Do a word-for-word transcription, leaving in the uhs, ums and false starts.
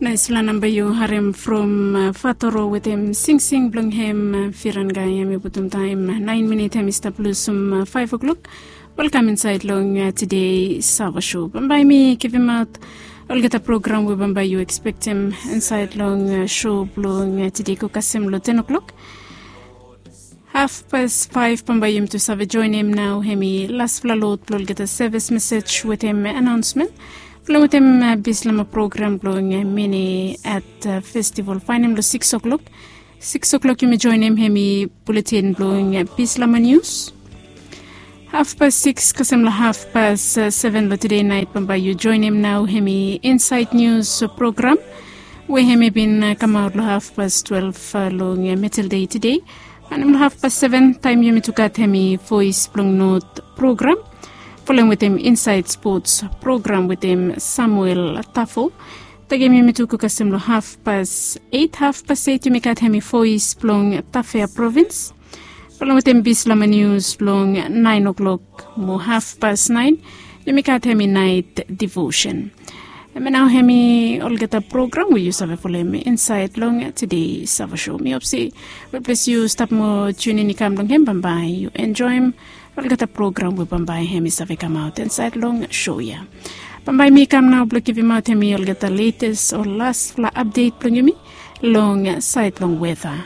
Naispela namba yu harem from fatoro wetem singsing blong hem firan gai hem i putum taem naen minit hem i stap lusum faef oklok. Welkam insaed long tide sava sho bambae mi givimaot olgeta program we bambae yu ekspektem insaed long sho blong tide go kasem long ten oklok. Hafpas faef bambae yumi tu save joenem nao hem i laspela lod blong olgeta sevis mesej wetem anaonsmen blong wetem bislama program blong mini at festival faenem long siks oklok. Siks oklok yumi joenem hem i buletin blong bislama nius. Hafpas siks kasem long hafpas seven long tide naet bambae yu joenem nao hem i insaed nius program we hem i bin kamaot long hafpas twelef long metel dei tide. Anem long hafpas seven taem yumi tu gat hem i voes blong not program folem wetem insaed spots program wetem samuel tafo. Tagem yumi tu go kasem long hafpas eit hafpas eit yumi gat hem i voes blong tafea provins folem wetem bislama nius blong naen oklok mo hafpas naen yumi gat hem i naet divosen. Em nao hem i olgeta program we yu save folem insaed long tide sava sho mi hop se we ples yu stap mo tunin i kam long hem bambae yu enjoem olgeta program we bambae hem i save kamaot insaed long sho ya. Bambae mi kam nao blong givimaot hem i olgeta letes o laspela apdet blong yumi long saed long weta.